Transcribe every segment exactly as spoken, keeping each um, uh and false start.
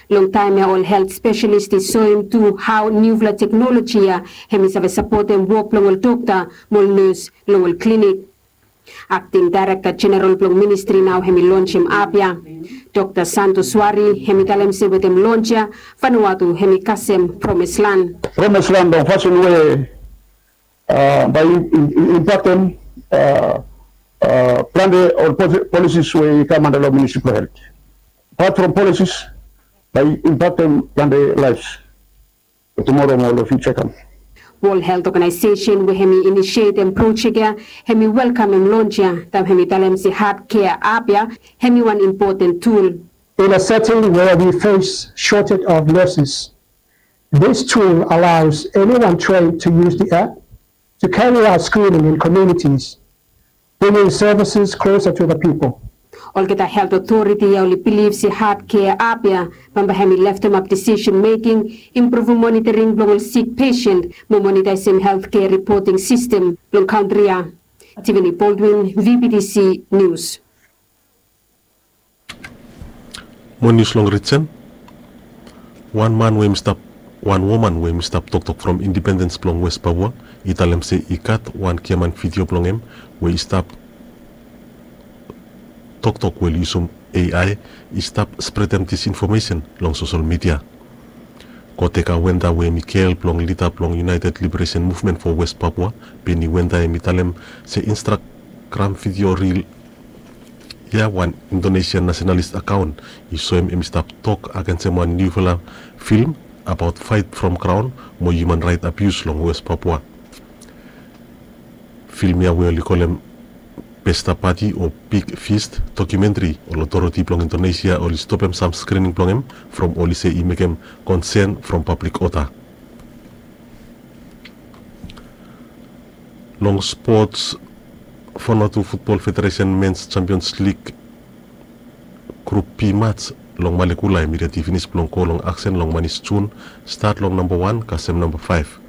Long taem ya ol helt spesialis i soem tu hao niufala teknoloji ya hemi save sapotem wok blong ol dokta mo ol nes long ol klinik. Akting Daerekta Jeneral blong ministri nao hemi lonsem ap ya. Dokta Santo Suari hemi talem se wetem lons ya Vanuatu hemi kasem promislan. Promislan long fasin we bae i impaktem plante ol polisis we i kam anda long ministri blong helt. Apat from polisis bae i impaktem plante laefs. Tumora mo long fiuja i kam. Wol Helt Oganaesesen we hemi inisietem projek ya hemi welkamem lons ya taem hemi talem se Heart Care ap ya hemi wan impoten tul. In a setting where we face shortage of nurses, this tool allows anyone trained to use the app to carry out screening in communities, bringing services closer to the people. Olgeta helt otoriti ya oli bilif se Heart Care ap ya bambae hemi leftemap disisen meking, impruvum monitoring blong ol sik pesen mo monitaesem helt kea ripoting sistem blong kantri ya. Tiffany Baldwin, V B T C News. Mo nius long rijin. Wan man we hemi stap wan woman we hemi stap toktok from indipendens blong West Papua i talem se i gat wan giaman vidio blong hem we i stap toktok we oli yusum A I i stap spredem disinfomesen long sosel midia. Koteka Wenda we hemi gel blong lida blong United Liberation Movement for West Papua Beni Wenda hemi talem se Instagram vidio ril ya wan Indonesian nasenalis akaon i soem hemi stap tok agensem wan niufala film abaot faet from graon mo hiuman raet abius long West Papua. Film ya we oli kolem Pesta Pati o Big Feast dokumentri, ol otoriti blong Indonesia oli stopem sam skrining blong hem from oli se i mekem konsen from pablik oda. Long spots, Vanuatu Futbol Federesen Mens Champions Lig Grup B mats long Malekula hemi redi finis blong go long aksen long manis Jun, stat long namba wan kasem namba faef.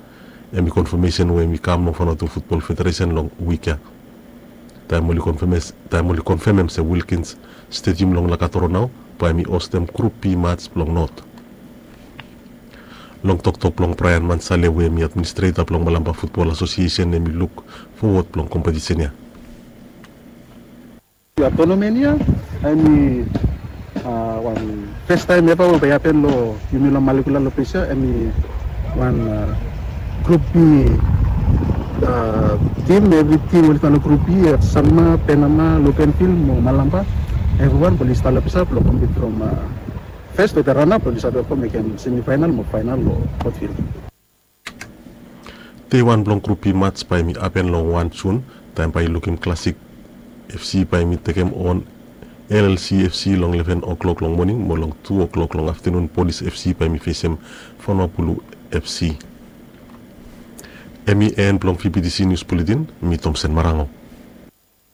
Hemi konfamesen we hemi kam long Vanuatu Futbol Federesen long wik ya. Taem oli konfamem se Wilkins Stedium long Lakatoro nao bae hemi hostem Grup B mats blong Not. Long toktok blong Brian Mansale we hemi administreta blong Malampa Futbol Asosiesen hemi luk fowod blong kompetisen ya. Ia tonamen ia hemi wan fes taem eva we bae i hapen long yumi long Malekula long ples ia. Hemi wan Grup B tim, evri tim oli stap long Grup B, Sanma, Penama, Lukenvil mo Malampa. Evriwan bae oli stap long ples ia blong kompit from fes wetem ranap oli save go mekem semifaenal mo faenal long Potvil. Dei wan blong Grup B mats bae hemi hapen long wan Jun, taem bae i lukim Klasik FC bae hemi tekem on L L C FC long leven o'clock long moning mo long tu o'clock long aftenun Polis FC bae hemi fesem Vanua Bulu FC. Hemi en blong V B T C Nius Buletin, mi Tomsen Marango.